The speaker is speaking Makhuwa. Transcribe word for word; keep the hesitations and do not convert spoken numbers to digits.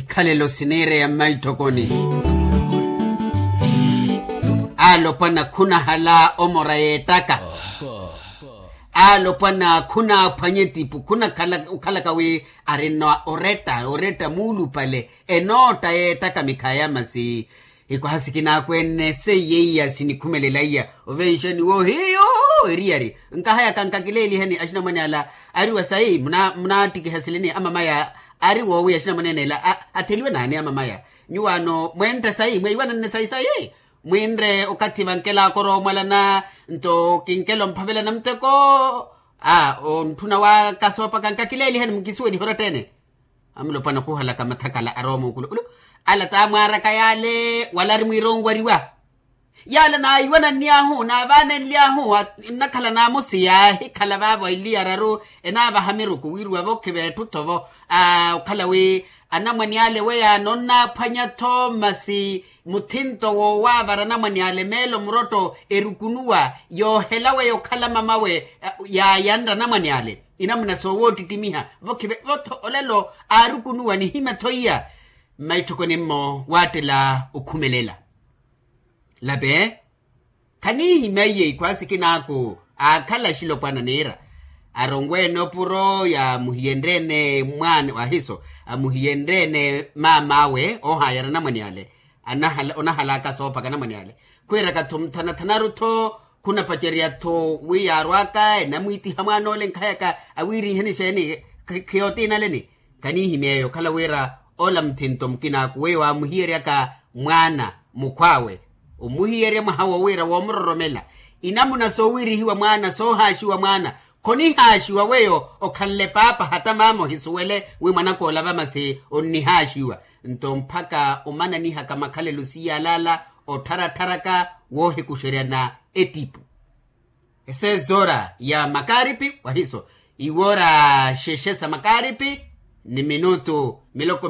Ikhalelo siniireya mmaitthokoni. Alopwana khunahala omora yeettaka. Alopwana khunaaphwanya etipu khunakhala okhalaka wi arina oretta oretta muulupale. Enootta yeettaka mikhaya masi ikwaha sikinaakweene seiye iya sinikhumelela iya ovenxani wo hiyo. Eriyari nkahayaka nkakileelihani axinamwane ala ari wa sayi munaattikiha silini amamaya ari woowiya axinamwaneene ela atheliwe naani amamaya nyuwaano mwentta sayi mweyiwananne sayi sayi mwinre okathi vankelaaka oroomwalana nto kinkela omphavelana muteko a ontthuna wa kasoopaka nkakileelihani mukisuweliha oratteene. Amulopwana khuhalaka mathakala arowa muukulu ulu ala taamwaaraka yaale wala ari mwiira onwariwa. Yaale naayiwananniy'ahu naavaanenly'ahu nnakhala naamusi yaahikhala vaavo eliya araru enaavaha miruku wiiriwa vokhiva etthu-tho-vo. Okhala wi anamwane ale weyaano onnaaphwanya-tho masi muthinto woowaavara anamwane ale meelo murotto erukunuwa yoohela weya okhala mamawe yaayanra anamwane ale. Inamuna soowootittimiha vokhive vo-tho olelo aarukunuwa nihimya-tho iya mmaitthokoni-mmo waattela okhumelela. Lape khaniihimya iye ikhwaasi kinaaku aakhala axilopwana niira aronweene opuro yaamuhiyenryeene mwaana wahiso amuhiyenryeene maam'awe oohaayara anamwane ale. Onahalaka soophaka anamwane ale khwiiraka-tho muthanathanaru-tho khunapacerya-tho wi yaarw'aka enamwiitiha mwaan'ole nkhayaka awiirinheni xeeni khiyootiinaleni. Khaniihimya eyo okhala wira ola muthinto mukinaaku weyo waamuhiyeryaka mwaana mukhw'awe omuhiyerya mwaha wowiira woomuroromela. Inamuna soowiirihiwa mwaana soohaaxiwa mwaana khonihaaxiwa weyo okhanle paapa hata maama ohisuwele wi mwanaka ola vamasi onnihaaxiwa. Nto mpakha omananihaka makhalelo siyalaala ottharattharaka woohikuxeryana etipu. Esezoora ya makaaripi wahiso iwoora xexe sa makaaripi ni minutu miloko